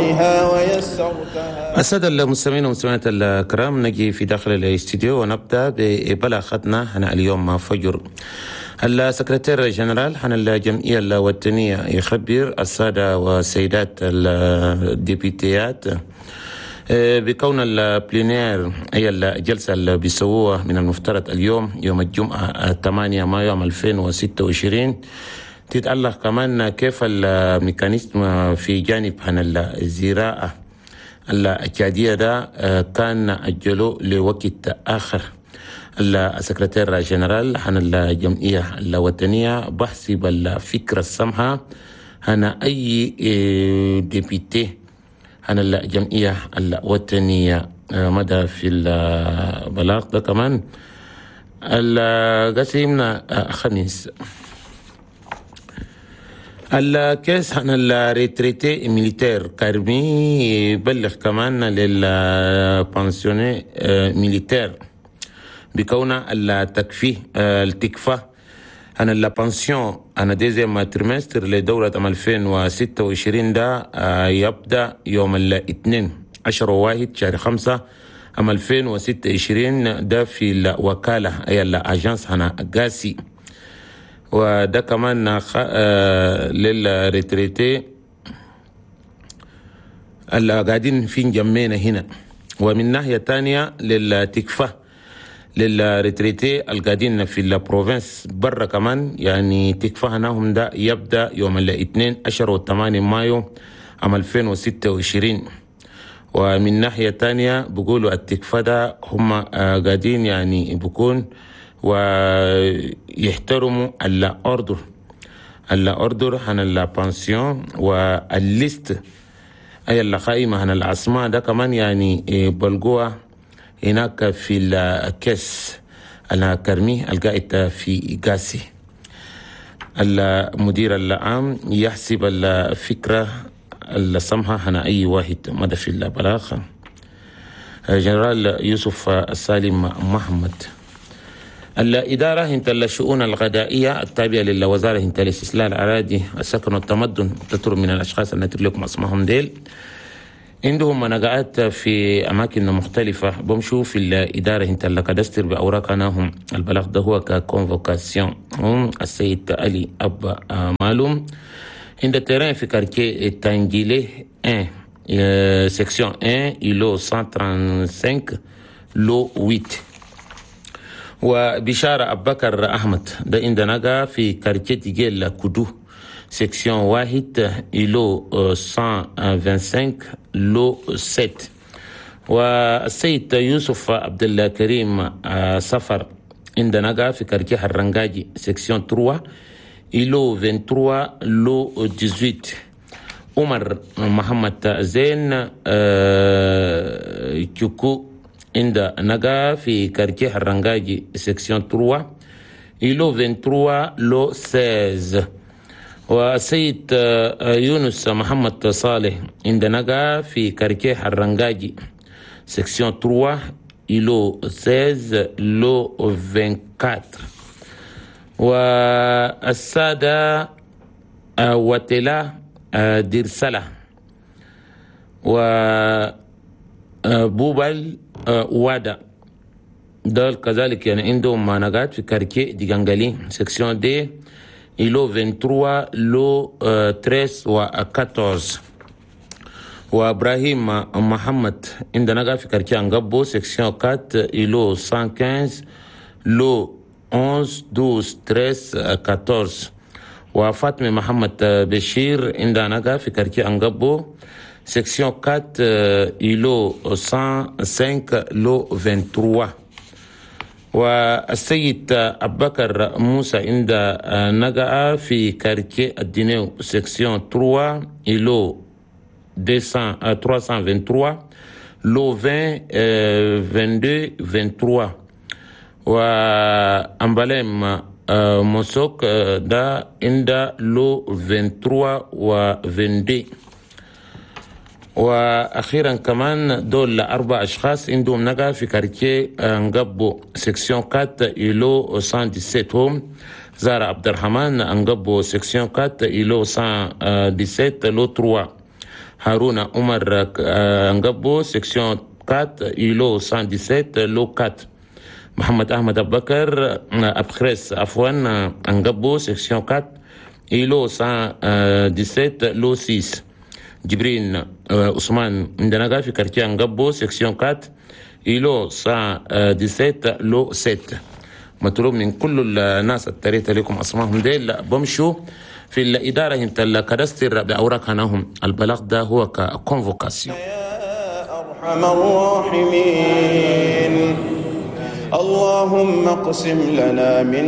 بها ويسرتها. السادة المستمعين والمستمعات الكرام، نجي في داخل الاستديو ونبدأ ببلاغتنا هنا اليوم فجر. ال secrétaire général عن الجمعية الوطنية يخبر السادة والسيدات الديبيتيات بكون ال plénière، أي الجلسة اللي بيسووها من المفترض اليوم يوم الجمعة 8 مايو 2026، تتعلق كمان كيف ال mécanisme في جانب عن الزراعة التشادية ده كان أجلوه لوقت آخر. ال secrétaire général عن الجمعية الوطنية بحسب الفكرة السمحة هنا أي député عن الجمعية الوطنية مدى في البلاغ ده كمان القسيمنا خميس. ال caisse عن ال retraités militaires كارمي يبلغ كمان لل pensionnés militaires بكون التكفي التكفى عن ال pension عن deuxième trimestre لدورة 2026 ده يبدأ يوم الاثنين 10 1 شهر 5 عام 2026، ده في الوكالة، أي ال agence هنا قاسي. وده كمان لل retraités اللي قاعدين في انجمينا هنا. ومن ناحية تانية للتكفى لل retraités القاعدين في ال province برا كمان، يعني تكفى هناهم ده يبدأ يوم الاثنين 10 و8 مايو عام 2026. ومن ناحية تانية بيقولوا التكفى ده هم قاعدين يعني بيكون ويحترموا ال ordre ال ordre عن ال pension وال liste، أي القائمة عن الأسماء ده كمان يعني بلقوها هناك في ال caisse الكرمي القاعد في قاسي. المدير العام يحسب الفكرة السمحة هنا أي واحد مدى في البلاغ جنرال يوسف السالم محمد. الإدارة هنت الشؤون الغذائية التابعة للوزارة هنت الاستصلاح الأراضي، السكن والتمدن تطلب من الأشخاص التي لكم اسمهم ديل عندهم منقعات في أماكن مختلفة، بمشوا في الإدارة هنت ال cadastre بأوراق هم. البلاغ ده هو ك convocation. هم السيد علي أبا مالوم عند terrain في quartier تانجيلي 1، section 1، îlot 135، lot 8. وبشارة أبو بكر أحمد ده عندنا نقا في quartier تيجيل كودو، section 1، îlot 125، lot 7. والسيد يوسف عبد الكريم سفر عندنا نقا في quartier حرنجاجي، section 3، îlot 23، lot 18. عمر محمد زين تشوكو عند نقا في quartier حرنجاجي، section 3، îlot 23، lot 16. والسيد يونس محمد صالح عند نقا في quartier حرنجاجي، section 3، îlot 16، lot 24. والسادة وتلا ديرسلة وبوبل وادا دول كذلك يعني عندهم مانقات في quartier ديغانغالي، section deux، îlot 23، lot 13 و 14. وابراهيم محمد عندنا في quartier انقبو، section 4، îlot 115، lot 11، 12، 13، 14. وفاطمة محمد بشير عندنا في quartier انقبو، section 4، îlot 105، lot 23. والسيد أبو بكر موسى عند نقع في quartier الدينيو، section 3، îlot 200 323، lot 20، 22، 23. وأمباليم موسوك ده عند lot 23 و 22. واخيرا كمان دول اربع اشخاص عندهم نقا في quartier انقبو، section 4، îlot 117. هم زارا عبد الرحمن انقبو، section 4، îlot 117، lot 3. هارون عمر انقبو، section 4، îlot 117، lot 4. محمد احمد ابو بكر ابخريس، عفوا، انقبو، section 4، îlot 117، lot 6. جبرين عثمان عندنا في quartier انقبو، section 4، îlot 117، lot 7. مطلوب من كل الناس التريت لكم اسمائهم ديل بمشوا في الإدارة انت ال cadastre بأوراق هناهم. البلاغ ده هو ك convocation. يا أرحم الراحمين، اللهم اقسم لنا من